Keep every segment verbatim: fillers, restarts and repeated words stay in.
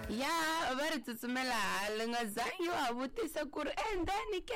Ya va ri tsutsumela hala nga zangi wa vutisa ku ri endani ke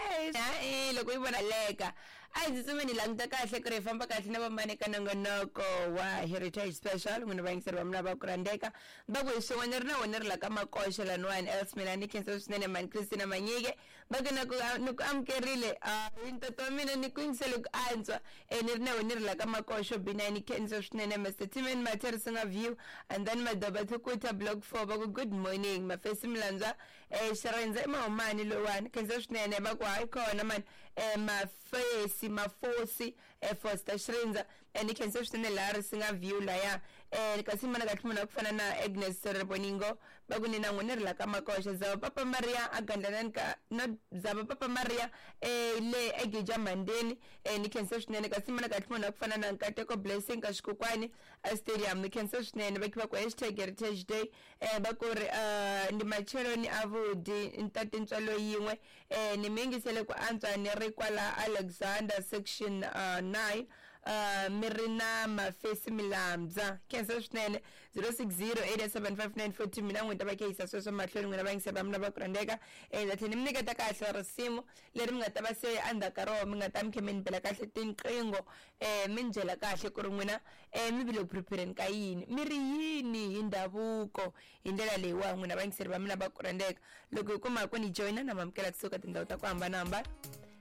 e loko yi vona leka a hi tsutsumeni languta kahle ku ri hi famba kahle na vamani ka nongonoko wa Heritage Special. N'wina vayingiseri va mina va ku rhandzeka va ku hi swin'wana ri na wena ri la ka makoxa laniwani else mina ni khensa swinene mani Christina Manyike va ku na ku ni ku amukerile hi ntoto wa mina ni ku yingisele ku antswa e ni ri na wena ri la ka makoxo B nine ni khensa swinene Mister Timen Matherisinga View and then Madoba Thukuta Block four va ku good morning mafesi Mlandzwa eh Xirenze Mahumani lowani khensa swinene va ku hayi kona mani eh mafesi mafosi eh Foster Xirenza eh ni khensa swinene laha Risinga View laya eh kasi mana kahle munhu ku fana na Agnes Reboningo va ku ni na n'wina ri la ka makoxa zava Papa Maria a gandlanani ka not zava Papa Maria eh le eGija Mandeni eh ni khensa swinene kasi mana kahle munhu ku fana na Nkateko Blessing ka Xikokwani a stadium ni khensa swinene va khiva ku hashtag Heritage Day eh va ku ri uh, ndi macheloni avudi ntate ntswalo yin'we eh ni mi yingisele ku antswa ni ri kwala Alexander section uh, nine uh, mi ri na mafesi Milambya khensa swinene zero six zero eight seven five nine four two mina n'wina ta va khehisa sweswo mahlweni n'wina va yingiseri va mina va ku rhandzeka eh ta tlhela ni mi nyiketa kahle risimu leri mi nga ta va se endzhaku ka rona mi nga ta mi khe mi ni bela kahle tinqingho eh mi ni byela kahle ku ri n'wina eh mi vile ku prepare-ni ka yini mi ri yini hi ndhavuko hi ndlela leyiwa n'wina vayingiseri va mina va ku rhandzeka loko hi kuma ku ni joyina na mamukela kusuka tindhawu ta ku hambanahambana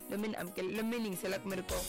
lomi ni amukela lomi ni yingiselaka mi ri kona.